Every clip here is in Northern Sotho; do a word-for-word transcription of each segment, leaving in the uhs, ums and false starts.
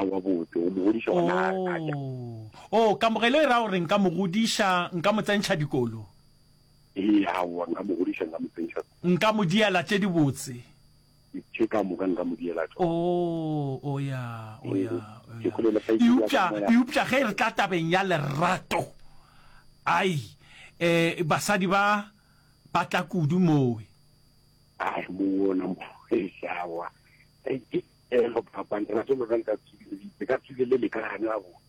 Aowa botse, o mo godiša gona a ja. Oh, oh, kamogelo e ra gore nka mo godiša, nka mo tsentšha dikolo. Ee, aowa, nka mo godiša, nka mo tsentšha. Nka mo diela tše dibotse. Tše ka moka nka mo diela tšona. Oh, oh ya, oh ya, oh Ke ya. kwele le kgaetšedi ya ka Eupša, moya. eupša ge re tla tabeng ya lerato, ai, eh, basadi ba ba tla kudu mowe. Ai, mo ona mo, eish, aowa. Ei, ke elo papa, lerato lona le ka tswile, le ka tswile le lekane gabotse.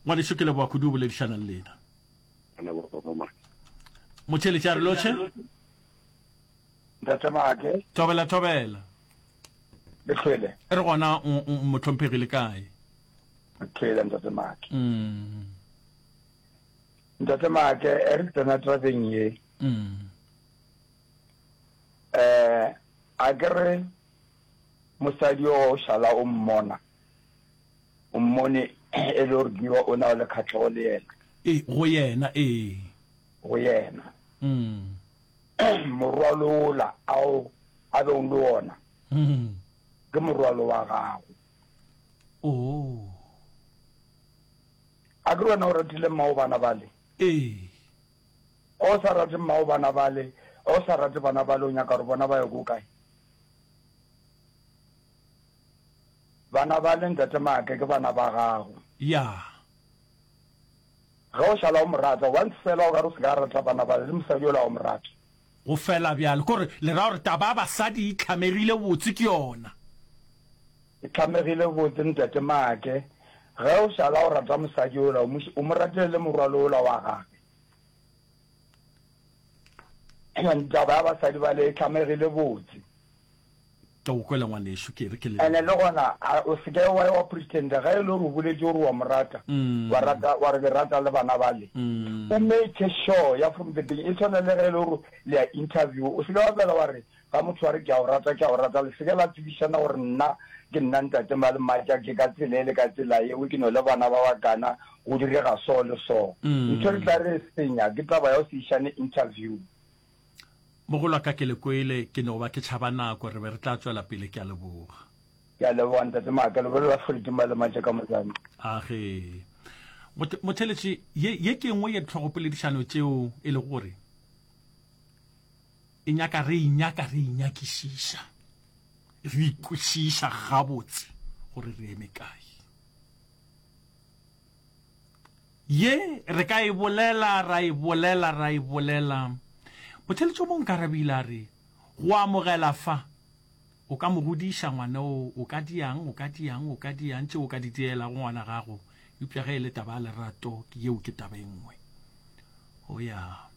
Ngwanešu, ke leboga kudu go boledišana le lena. Ke leboga papa Maki. Motheeletši a re lotšhe. Ntate Make. Thobela, thobela. Le hlwele? Re gona, mohlomphegi, le kae? Re hlwele, Ntate Make. Ntate Make, e re tsena tabeng ye. Eh, a ke re mosadi yo o šala o mmona, o mmone e le gore ke o na le kgahlego le yena. Ee, go yena, ee. Go yena. Morwalo ola ao a bego le wona ke morwalo wa gago. Oh. A ke re wena o ratile mmago bana bale? Ee. O sa rate mmago bana bale, o sa rate bana bale, o nyaka gore bona ba ye ko kae? Bana bale, Ntate Maake, ke bana ba gago. Ya. Ge o šala o mo rata, once fela o ka re o se ka rata bana bale, le mosadi yola o mo rata. Go fela bjalo. Ke gore le ra gore taba ya basadi e hlamegile botse ke yona. E hlamegile botse, Ntate Maake. Ge o šala o rata mosadi yola, o mo, o mo ratele le morwalo wola wa gagwe. Taba ya basadi bale e hlamegile botse. Ke go kwele ngwanešu, ke re ke le. Ene le gona a o se ke wa ya wa pretender ge e le gore o boletše gore wa mo rata, wa rata wa re ke rata le bana bale. O make sure ya from the beginning, e tshwana le ge e le gore le ya interview, o se ke wa fela wa re ga motho wa re ke a o rata, ke a o rata, le se ke la tsebišana gore nna ke nna ntate Malematša, ke ka tsela e le ka tsela yeo, ke no le bana ba bakana, go direga so le so. Ntho e re tla re e senya ke taba ya go se išane interview. Mogolo wa ka ke le kwele, ke no ba ke tšhaba nako, re be re tla tšwela pele, ke a leboga. Ke a leboga Ntate Maaka, le bolela Freddie Malematša ka Mozambique. Age. Motheletši, ye, ye ke nngwe ya dihlogopoledišano tšeo e lego gore e nyaka re e nyaka re e nyakišiša, re ikwešiša gabotse gore re eme kae. Ye re ka e bolela, ra e bolela, ra e bolela. Motheletši o mongwe nkarabile a re, Go amogela fa, o ka mo godiša ngwana o, o ka diang, o ka diang, o ka diang tšeo o ka di dielago ngwana gago, eupša ge e le taba ya lerato, ke yeo ke taba e nngwe. O ya.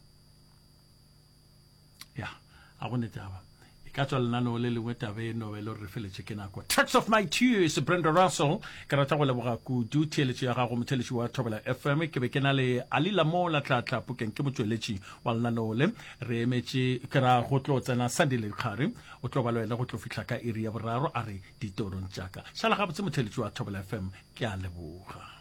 Ya, a go ne taba. E ka tswa lenaneo le lengwe taba e no be le gore re feletše ke nako. Tracks of My Tears, Brenda Russell. Ke rata go leboga kudu theeletšo ya gago motheeletši wa Thobela F M. Ke be ke na le Ali Lamola Tlatla Pukeng, ke motšweletši wa lenaneo le. Re emetše ke ra go tlo tsena Sunday Lekgare. O tlo ba le wena go tlo fihla ka iri ya boraro a re ditorong tša ka. Šala gabotse motheeletši wa Thobela F M. Ke a leboga.